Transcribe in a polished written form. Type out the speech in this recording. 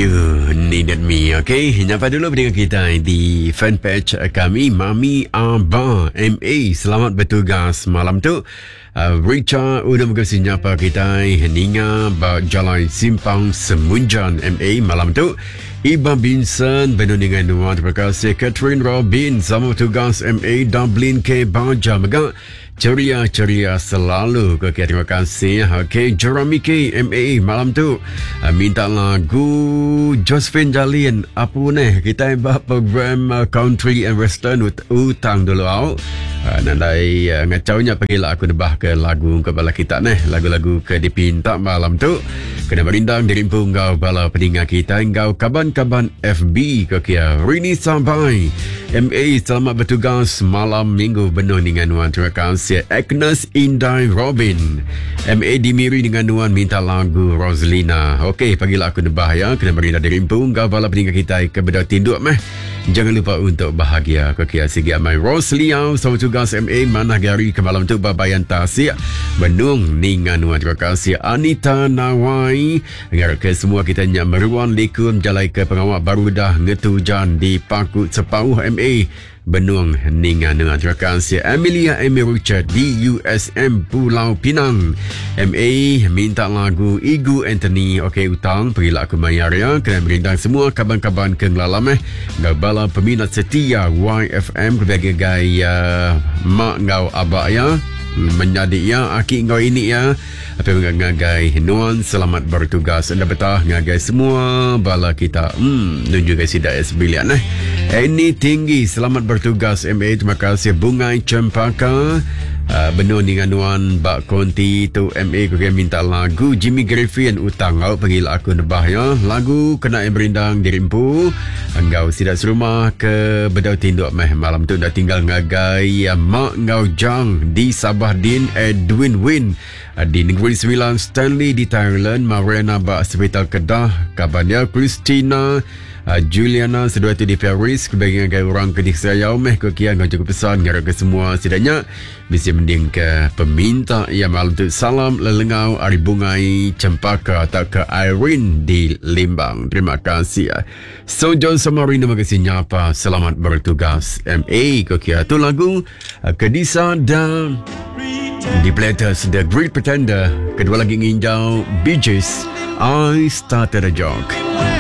You Needed Me. Okay, nyapa dulu dengan kita di fanpage kami Mami Abba MA. Selamat bertugas malam tu. Uh, Richard udah mega nyapa kita ninga ba Jalai Simpang Semunjan MA malam tu. Iba Binson benar dengan nuan. Terima kasih Catherine Robin sama bertugas MA Dublin K Baja mega. Ceria-ceria selalu. Okey, terima kasih. Okey, Jeremy K MA malam tu uh, minta lagu Josephine Jalin. Apa ni? Kita buat program uh, Country and Western ut utang dulu au. Uh, nandai uh, ngacaunya pergilah aku nebah ke lagu ke bala kita neh. Lagu-lagu ke dipinta malam tu. Kena merindang dirimpu ngau bala peninga kita ngau kaban-kaban FB ke kia. Rini sampai. MA selamat bertugas malam minggu benuh dengan nuan. Terima kasih Agnes Indai Robin. MA di Miri dengan nuan minta lagu Roslina. Okey, pagilah aku nebah ya. Kena beri dari rimpu ngau bala peninggal kita ke bedau tinduk meh. Jangan lupa untuk bahagia. Okey, sigi amai Rosliau sama tugas MA mana gari ke malam tu babayan tasik. Benung ningan nuan. Terima kasih Anita Nawai. Ngarap ke semua kita nyak meruan likun jalai ke pengawak baru dah ngetujan di Paku Sepauh MA Benung ninga dengan terima kasih Amelia Amy Richard di USM Pulau Pinang MA minta lagu Igu Anthony okey utang pergilah aku mayar ya kena merindang semua kaban-kaban ke ngelalam eh ngau bala peminat setia YFM kebagai gaya mak ngau abak ya menyadi ya aki ngau ini ya Apa ngagai nuan selamat bertugas enda betah ngagai semua bala kita. Hmm, nuju ke sida sebilian eh. Ini tinggi selamat bertugas MA terima kasih Bungai Cempaka. Uh, benuh dengan nuan bak konti tu MA ku minta lagu Jimmy Griffin utang au panggil aku nebah ya. Lagu kena yang berindang dirimpu enggau sida serumah ke bedau tinduk meh malam tu dah tinggal ngagai mak enggau jang di Sabah Din Edwin Win Di Negeri Sembilan, Stanley di Thailand, Mariana ba Sepital Kedah, kaban dia Christina, uh, Juliana seduai tu di Paris, kebagian ngagai orang ke disayau meh ke kia ngau cukup pesan ngarap ke semua sidanya bisi mending ke peminta ia malam tu salam lelengau ari Bungai Cempaka atau ke Irene di Limbang. Terima kasih. So John Samari terima kasih nyapa selamat bertugas MA ke kia tu lagu uh, Kedisa dan The Platters, The Great Pretender. Kedua lagi nginjau Bee Gees, I Started a Joke.